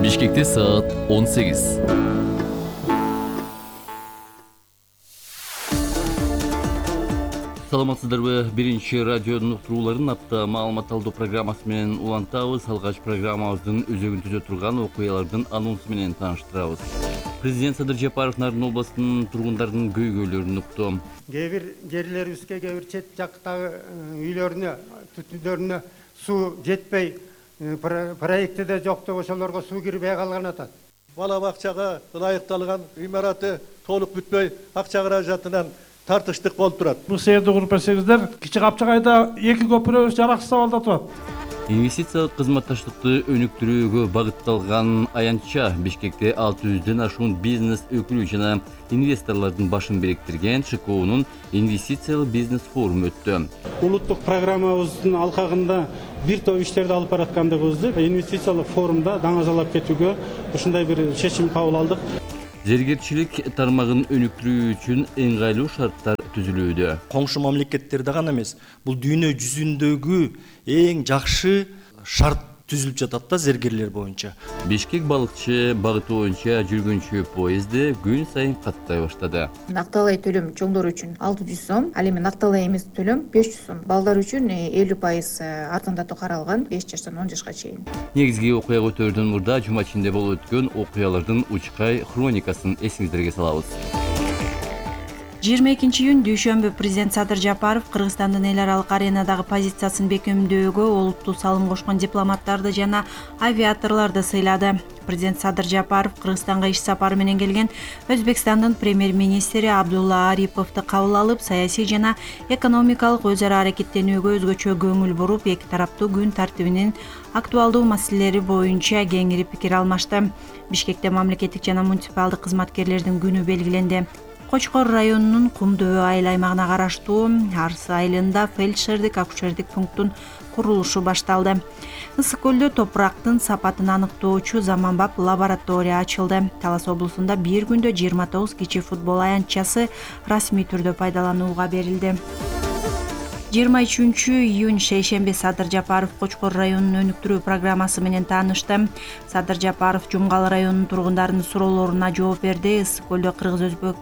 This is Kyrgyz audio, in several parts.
Бишкекте саат 18. Саламатсыздарбы? Биринчи радионун уктурууларын апта маалымат алуу программасы менен улантабыз. Алгач программабыздын өзөгүн түзө турган окуялардын анонсу менен тааныштырабыз. Президент Садыр Жапаров Нарын областынын тургундарынын көйгөйлөрүн укту. Кээ бир жерлерибизге, кээ бир чет жактагы үйлөрүнө, түтүндөрүнө суу жетпей, проектиде жок деп ошолорго суу кирбей калган атат. Бала бакчага ылайыкталган имараты толук бүтпөй, акча каражатынан тартыштык болуп турат. Бул сээрди куруп берсеңиздер, Кичи Капчагайда 2 көпүрө жараксыз абалда турат. Инвестициялык кызматташтыкты өнүктүрүүгө багытталган аянтча Бишкекте 600дөн ашуун бизнес өкүлү жана инвесторлордун башын бириктирген ШКУнун инвестициялык бизнес форуму өттү. Улуттук программабыздын алкагында бир топ иштерди алып бараткандыгыбызды инвестициялык форумда даңазалап кетүүгө ушундай бир чечим кабыл алдык. Зергерчилик тармагын өнүктүрүү үчүн ыңгайлуу шарттар түзүлүүдө. Коңшу мамлекеттерде гана эмес, бул дүйнө жүзүндөгү эң жакшы шарт түзүлүп жатат да зергерлер боюнча. Бишкек балыкчы багыты боюнча жүргүнчү поезди күн сайын каттай баштады. Накталай төлөм чоңдор үчүн 600 сом, ал эми накталай эмес төлөм 500 сом. Балдар үчүн 50% арзандатуу каралган 5 жаштан 10 жашка чейин. Негизги окуя көтөрүүдөн мурда жума ичинде болуп өткөн окуялардын учкай хроникасын эсиңиздерге салабыз. 22-июнь дүйшөмбү президент Садыр Жапаров Кыргызстандын эл аралык аренадагы позициясын бекемдөөгө олуттуу салым кошкон дипломаттарды жана авиаторлорду сыйлады. Президент Садыр Жапаров Кыргызстанга иш сапары менен келген Өзбекстандын премьер-министри Абдулла Ариповду кабыл алып, саясий жана экономикалык өз ара аракеттенүүгө өзгөчө көңүл буруп, эки тараптуу күн тартибинин актуалдуу маселелери боюнча кеңири пикир алмашты. Бишкекте мамлекеттик жана муниципалдык кызматкерлердин күнү белгиленди. Кочкор районунун Кумдөбө айыл аймагына караштуу Арсы айылында фельдшердик акушердик пункттун курулушу башталды. Ысык көлдө топурактын сапатын аныктоочу заманбап лаборатория ачылды. Талас облусунда бир күндө 29 кичи футбол аянтчасы расмий түрдө пайдаланууга берилди. 23-июнь шейшемби Садыр Жапаров Кочкор районунун өнүктүрүү программасы менен таанышты. Садыр Жапаров Жумгал районунун тургундарынын суроолоруна жооп берди. Ысык көлдө Кыргыз-Өзбек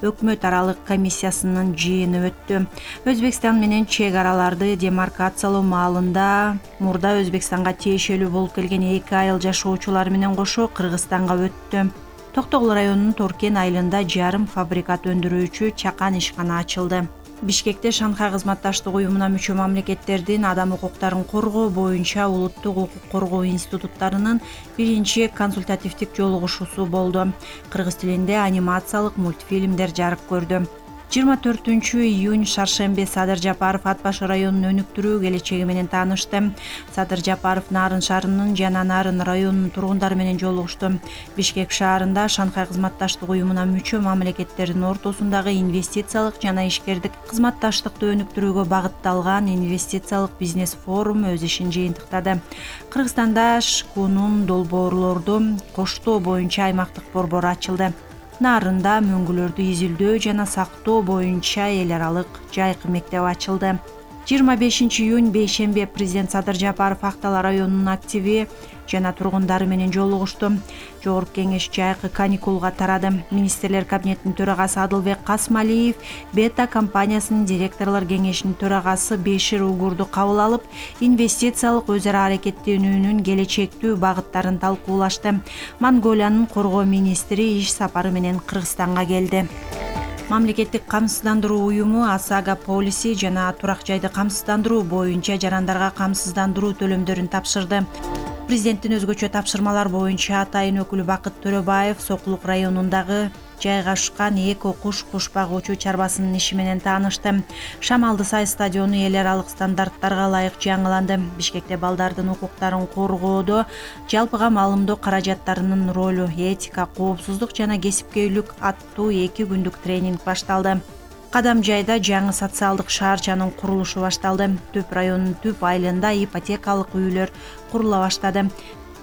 өкмөт аралык комиссиясынын жыйыны өттү. Өзбекстан менен чек араларды демаркациялоо маалында мурда Өзбекстанга тиешелүү болуп келген 2 айыл жашоочулар менен кошо Кыргызстанга өттү. Токтогул районунун Торкен айылында жарым фабрикат өндүрүүчү чакан ишкана ачылды. Бишкекте Шанхай кызматташтык уюмуна мүчө мамлекеттердин адам укуктарын коргоо боюнча улуттук укук коргоо институттарынын биринчи консультативдик жолугушуусу болду. Кыргыз тилинде анимациялык мультфильмдер жарык көрдү. 24-июнь шаршемби Садыр Жапаров Ат башы районун өнүктүрүү келечеги менен таанышты. Садыр Жапаров Нарын шаарынын жана Нарын районунун тургундары менен жолугушту. Бишкек шаарында Шанхай кызматташтык уюмуна мүчө мамлекеттердин ортосундагы инвестициялык жана ишкердик кызматташтыкты өнүктүрүүгө багытталган инвестициялык бизнес форум өз ишин жыйынтыктады. Кыргызстанда ШКУнун долбоорлорду коштоо боюнча аймактык борбору ачылды. Нарында мөңгүлөрдү изилдөө жана сактоо боюнча эл аралык жайкы мектеп ачылды. 25-июнь бейшемби президент Садыр Жапаров Актала районунун активи жана тургундары менен жолугушту. Жогорку кеңеш жайкы каникулга тарады. Министрлер кабинетинин төрагасы Адылбек Касмалиев Бета компаниясынын директорлор кеңешинин төрагасы Бешир Угурду кабыл алып, инвестициялык өз ара аракеттенүүнүн келечектүү багыттарын талкуулашты. Монголиянын коргоо министри иш сапары менен Кыргызстанга келди. Мамлекеттик камсыздандыруу уюму ОСАГО полиси жана турак жайды камсыздандыруу боюнча жарандарга камсыздандыруу төлөмдөрүн тапшырды. Президенттин өзгөчө тапшырмалар боюнча атайын өкүлү Бакыт Төрөбаев Сокулук районундагы жайгашкан эко куш багуучу чарбасынын иши менен таанышты. Шамалды Сай стадиону эл аралык стандарттарга ылайык жаңыланды. Бишкекте балдардын укуктарын коргоодо жалпыга маалымдоо каражаттарынын ролу, этика, коопсуздук жана кесипкөйлүк аттуу 2 күндүк тренинг башталды. Кадам жайда жаңы социалдык шаарчанын курулушу башталды. Төп районунун түп айылында ипотекалык үйлөр курула баштады.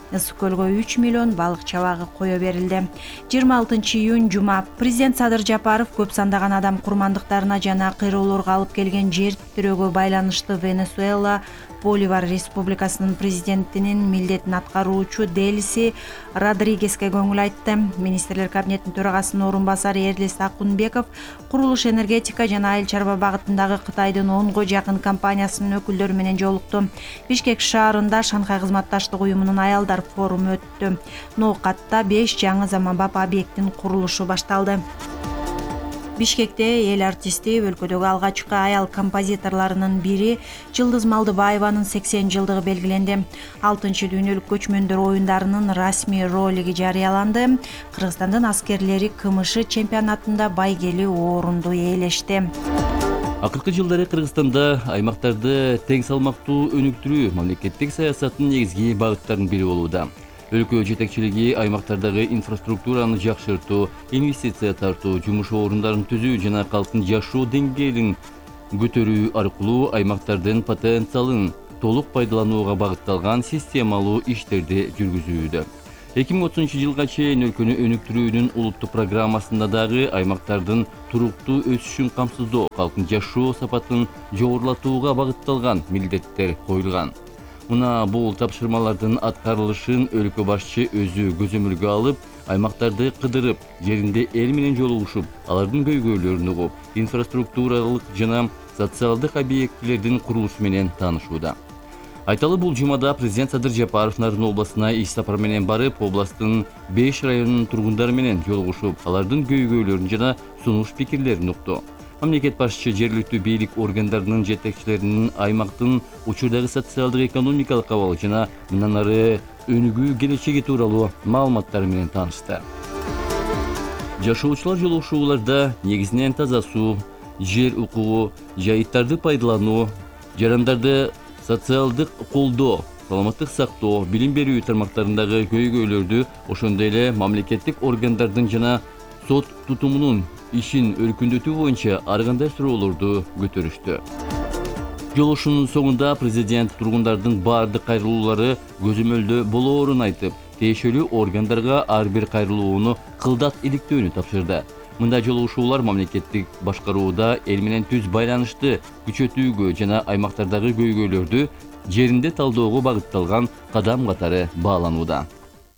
Ысык көлгө 3 миллион балык чабагы кое берилди. 26-июнь жума президент Садыр Жапаров көп сандаган адам курмандыктарына жана кыйроолорго алып келген жер тирөөгө байланыштуу Венесуэла Боливар Республикасынын президентинин милдетин аткаруучу Делси Родригеске көңүл айтты. Министрлер кабинетинин төрагасынын орун басары Эрлис Акунбеков курулуш, энергетика жана айыл чарба багытындагы Кытайдын 10го жакын компаниясынын өкүлдөрү менен жолукту. Бишкек шаарында Шанхай кызматташтык уюмунун аялдар форуму өттү. Ноокатта 5 жаңы заманбап объекттин курулушу башталды. Бишкекте эл артисти, өлкөдөгү алгачкы аял композиторлорунун бири Жылдыз Малдыбаеванын 80 жылдыгы белгиленди. 6-дүйнөлүк көчмөндөр оюндарынын расмий ролиги жарыяланды. Кыргызстандын аскерлери КМШ чемпионатында байгелүү орунду ээлешти. Акыркы жылдары Кыргызстанда аймактарды тең салмактуу өнүктүрүү мамлекеттик саясаттын негизги багыттарынын бири болууда. Өлкө жетекчилиги аймактардагы инфраструктураны жакшыртуу, инвестиция тартуу, жумуш орундарын түзүү жана калктын жашоо деңгээлин көтөрүү аркылуу аймактардын потенциалын толук пайдаланууга багытталган системалуу иштерди жүргүзүүдө. 2030 жылга чейин өлкөнү өнүктүрүүнүн улуттук программасында дагы аймактардын туруктуу өсүшүн камсыздоо, калктын жашоо сапатын жогорулатууга багытталган милдеттер коюлган. Мына бул тапшырмалардын аткарылышын өлкө башчы өзү көзөмөлгө алып, аймактарды кыдырып, жеринде эл менен жолугушуп, алардын көйгөйлөрүн угуп, инфраструктуралык жана социалдык объектилердин курулушу менен таанышууда. Айталы бул жумада президент Садыр Жапаров Нарын областына иш сапар менен барып, областтын 5 районунун тургундары менен жолугушуп, алардын көйгөйлөрүн жана сунуш пикирлерин укту. Мамлекет башчы жергиликтүү бийлик органдарынын жетекчилеринин аймактын учурдагы социалдык экономикалык абалы жана мындан ары өнүгүү келечеги тууралуу маалыматтары менен таанышты. Жашоочулар жолугушууларда негизинен таза суу, жер укугу, жайыттарды пайдалануу, жарандарды социалдык колдоо, саламаттык сактоо, билим берүү тармактарындагы көйгөйлөрдү, ошондой эле мамлекеттик органдардын жана сот тутумунун ишин өркүндөтүү боюнча ар кандай суроолорду көтөрүштү. Жолугушуунун соңунда президент тургундардын баардык кайрылуулары көзөмөлдө болоорун айтып, тиешелүү органдарга ар бир кайрылууну кылдат иликтөөнү тапшырды. Мындай жолугушуулар мамлекеттик башкарууда эл менен түз байланышты күчөтүүгө жана аймактардагы көйгөйлөрдү жеринде талдоого багытталган кадам катары бааланууда.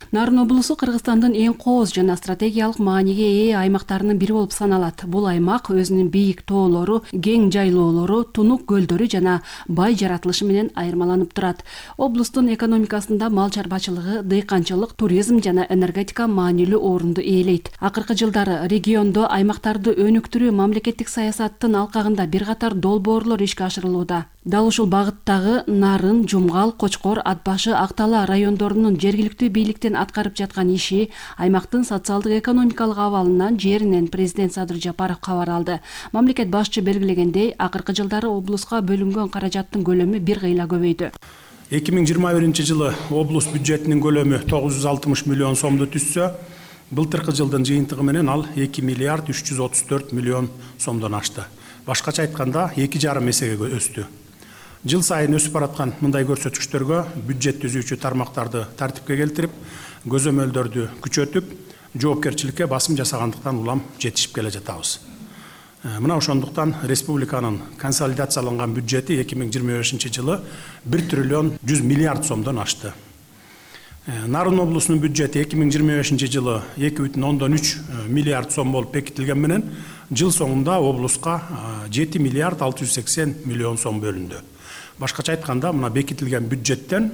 Нарын облусу Кыргызстандын эң кооз жана стратегиялык мааниге ээ аймактарынын бири болуп саналат. Бул аймак өзүнүн бийик тоолору, кең жайлоолору, тунук көлдөрү жана бай жаратылышы менен айырмаланып турат. Облустун экономикасында мал чарбачылыгы, дыйканчылык, туризм жана энергетика маанилүү орунду ээлейт. Акыркы жылдары региондо аймактарды өнүктүрүү мамлекеттик саясаттын алкагында бир катар долбоорлор ишке ашырылууда. Дал ушул багыттагы Нарын, Жумгал, Кочкор, Ат башы, Актала райондорунун жергиликтүү бийликтин аткарып жаткан иши аймактын социалдык экономикалык абалынан жеринен президент Садыр Жапаров кабар алды. Мамлекет башчы белгилегендей, акыркы жылдары облуска бөлүнгөн каражаттын көлөмү бир кыйла көбөйдү. 2021 жылы облус бюджетинин көлөмү 960 миллион сомду түзсө, былтыркы жылдын жыйынтыгы менен ал 2 миллиард 334 миллион сомдон ашты. Башкача айтканда 2,5 эсеге өстү. Жыл сайын өсүп бараткан мындай көрсөткүчтөргө бюджет түзүүчү тармактарды тартипке келтирип, көзөмөлдөрдү күчөтүп, жоопкерчиликке басым жасагандыктан улам жетишип келе жатабыз. Мына ошондуктан республиканын консолидацияланган бюджети 2025 жылы 1 триллион 100 миллиард сомдон ашты. Нарын облусунун бюджети 2025 жылы 2,3 миллиард сом болуп бекитилген менен, жыл соңунда облуска 7 миллиард 680 миллион сом бөлүндү. Башкача айтканда, мына бекитилген бюджеттен,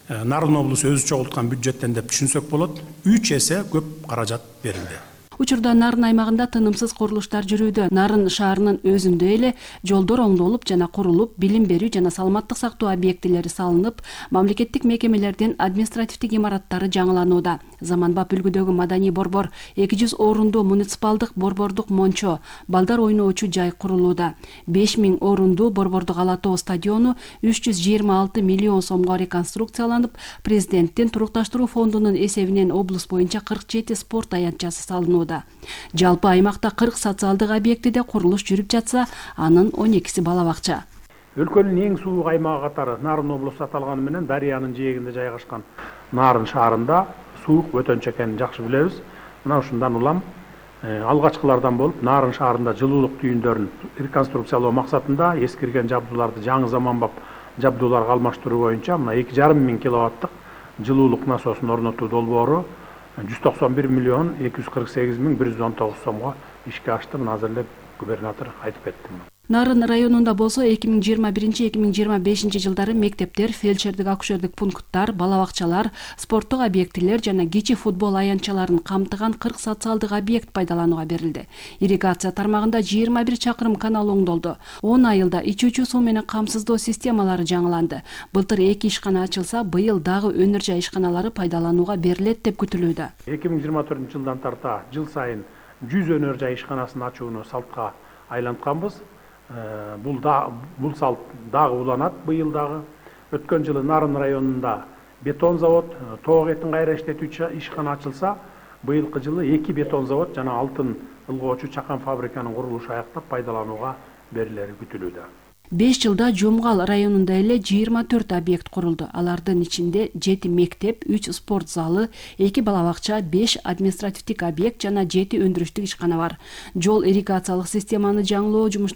Нарын облусу өзү чогулткан бюджеттен деп түшүнсөк болот, 3 эсе көп каражат берилди. Учурда Нарын аймагында тынымсыз курулуштар жүрүүдө. Нарын шаарынын өзүндө эле жолдор оңдолуп жана курулуп, билим берүү жана саламаттык сактоо объектилери салынып, мамлекеттик мекемелердин административдик имараттары жаңыланууда. Заманбап үлгүдөгү маданий борбор, 200 орунду муниципалдык борбордук мончо, балдар ойноочу жай курулууда. 5000 орунду борбордук ала тоо стадиону 326 миллион сомго реконструкцияланып, президенттин турукташтыруу фондунун эсебинен облус боюнча 47 спорт аянтчасы салынууда. Жалпы аймакта 40 социалдык объектиде курулуш жүрүп жатса, анын 12си бала бакча. Өлкөнүн эң суук аймагы катары Нарын облусу аталганы менен дарыянын жээгинде жайгашкан Нарын шаарында суук өтөнчү экенин жакшы билебиз. Мына ушундан улам алгачкылардан болуп Нарын шаарында жылуулук түйүндөрүн реконструкциялоо максатында эскирген жабдууларды жаңы заманбап жабдууларга алмаштыруу боюнча мына 2,5 миң киловаттык жылуулук насосун орнотуу долбоору 191 миллион 248 миң 119 сомго ишке ашты. Мына азыр эле губернатор айтып кетти. Нарын районунда болсо 2021-2025 жылдары мектептер, фельдшердик акушердик пункттар, бала бакчалар, спорттук объектилер жана кичи футбол аянтчаларын камтыган 40 социалдык объект пайдаланууга берилди. Ирригация тармагында 21 чакырым канал оңдолду. 10 айылда ичүүчү суу менен камсыздоо системалары жаңыланды. Былтыр 2 ишкана ачылса, быйыл дагы өнөр жай ишканалары пайдаланууга берилет деп күтүлүүдө. 2024 жылдан тарта жыл сайын 100 өнөр жай ишканасын ачууну салтка айлантканбыз. Бул салт дагы уланат быйыл дагы. Өткөн жылы Нарын районунда бетон завод, тоок этин кайра иштетүүчү ишкана ачылса, быйылкы жылы 2 бетон завод жана алтын ылгоочу чакан фабриканын курулушу аяктап пайдаланууга берилери күтүлүүдө. 5 жылда Жумгал районунда эле 24 объект курулду. Алардын ичинде 7 мектеп, 3 спорт залы, 2 бала бакча, 5 административдик объект жана 7 өндүрүштүк ишкана бар. Жол ирригациялык системаны жаңылоо жумуштары